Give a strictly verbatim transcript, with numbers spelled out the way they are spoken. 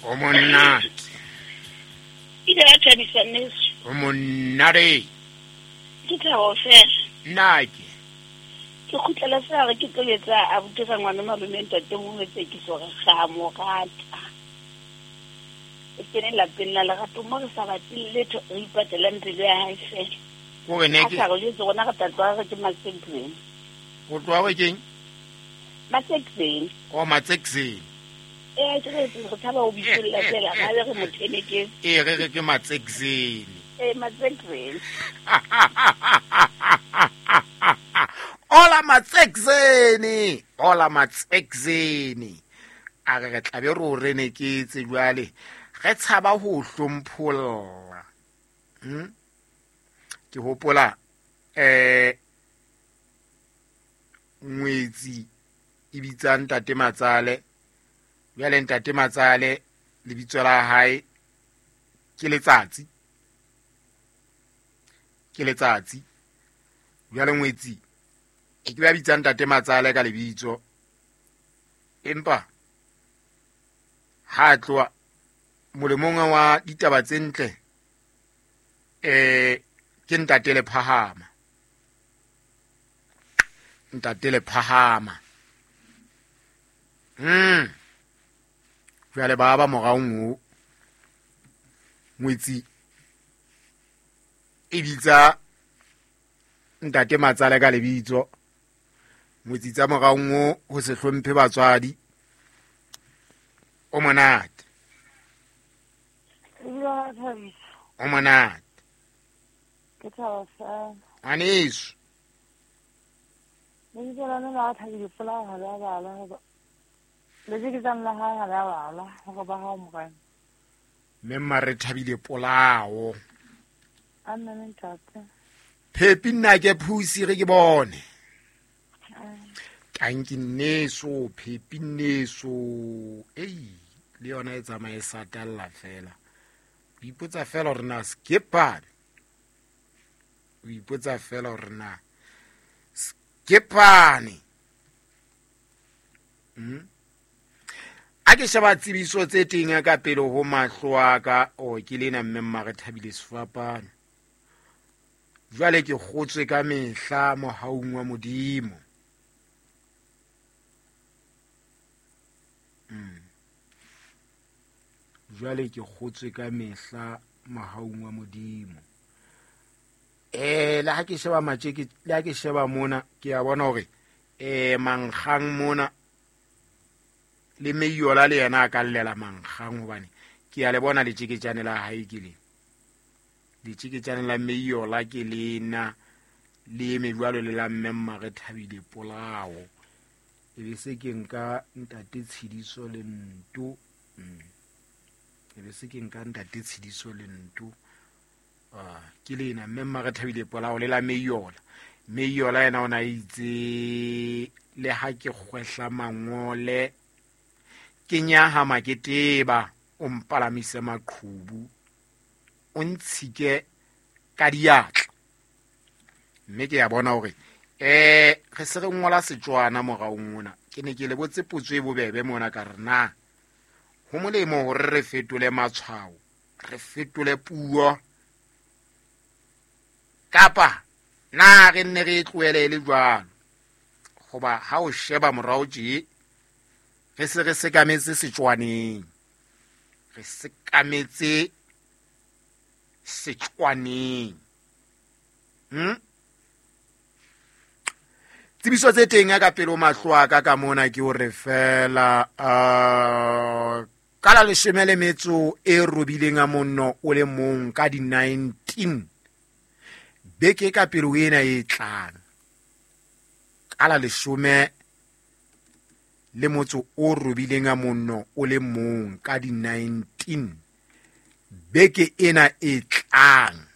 O monate. Ile ya thabisa nneso. O monate. Ke thabo fela. Nnake. Ke kgutlela fela re ke tlo etsa abuti ga ngwana malome ntate mo tsekiso re ga mo rata. E kene lapeng la lerato mo re sa batle letho re ipatelang pelo ya hae fela. Ko re ne ke A sa re jwetse rona re tla tloha re ke Matsekzeni. O tloha re keng? Matsekzeni. O Matsekzeni. Eh, ke re re tshaba ho bitsolla fela ga re mo theneke. Eh, re re ke Matsekzeni. Eh, Matsekzeni. Hola Matsekzeni. Hola Matsekzeni. A re re tla be re o reneketse jwale. Re tshaba ho hlompholla. Hm? Ke hopola eh ngwetsi e bitsa ntate Matsale. Jwale ntate Matsale lebitso la hae ke Letsatsi. Ke Letsatsi. Jwale ngwetsi e ke ba bitsa ntate Matsale ka lebitso. Empa ha tloha molemong wa ditaba tse ntle eh ke ntate le phahama. Ntate le phahama. Mm. Jwale ba ba moraong o ngwetsi e bitsa ntate Matsale ka lebitso. Ngwetsi tsa moraong o ho se hlomphe batswadi. O monate. O monate. Ke thaba fela. Ngwaneso. Lebitso la lona la Thabile Polao ha le a balwa hoba lejeketsang la hae ha le a balwa hore ba hao morena. Mme mma re Thabile Polao. Amen ntate. Phepi nna ke phusi re ke bone. Tanki nneso, phepi nneso. Ei, le yona e tsamaye satalla fela. O ipotsa fela hore na skepane. O ipotsa fela hore na skepane. Mm. A ke sheba tsebiso tse teng ka pele ho mahlo a ka, o ke lena mme mma re Thabile sefapano. Jwale ke kgotswe ka mehla mohaung wa Modimo. Mm. Jwale ke kgotswe ka mehla mohaung wa Modimo. Eh le ha ke sheba matjeke, le ha ke sheba mona ke a bona hore eh mankgang mona le Meyola le yena a ka llela mankgang hobane ke a le bona letjeketjane la hae ke le. Letjeketjane la Meyola ke lena le eme jwalo le la mme mma re Thabile Polao. E be se ke nka ntate Tshidiso le Nto. Mm. E be se ke nka ntate Tshidiso le Nto. Ah, ke lena mme mma re Thabile Polao le la Meyola. Meyola yena o na itse le ha ke kgwehla mangole ke nyahama ke teba o mpalamise maqhubu o ntshike ka diatla. Mme ke ya bona hore eh re se re ngola Setswana moraong mona. Ke ne ke le botse potso e bobebe mona ka re na ho molemo hore re fetole matshwao, re fetole puo kapa na re nne re tlohele e le jwalo. Hoba ha o sheba morao tje re se re sekametse Setswaneng. Re sekametse Setswaneng. Hm? Tsebiso tse teng ka pele ho mahlo a ka ka mona ke hore fela uh, ka la leshome le metso e robileng a monno o le mong ka di nineteen beke ka pele ho ena e tlang. Ka la leshome le motso o robileng a monno o le mong ka di nineteen beke ena e tlang.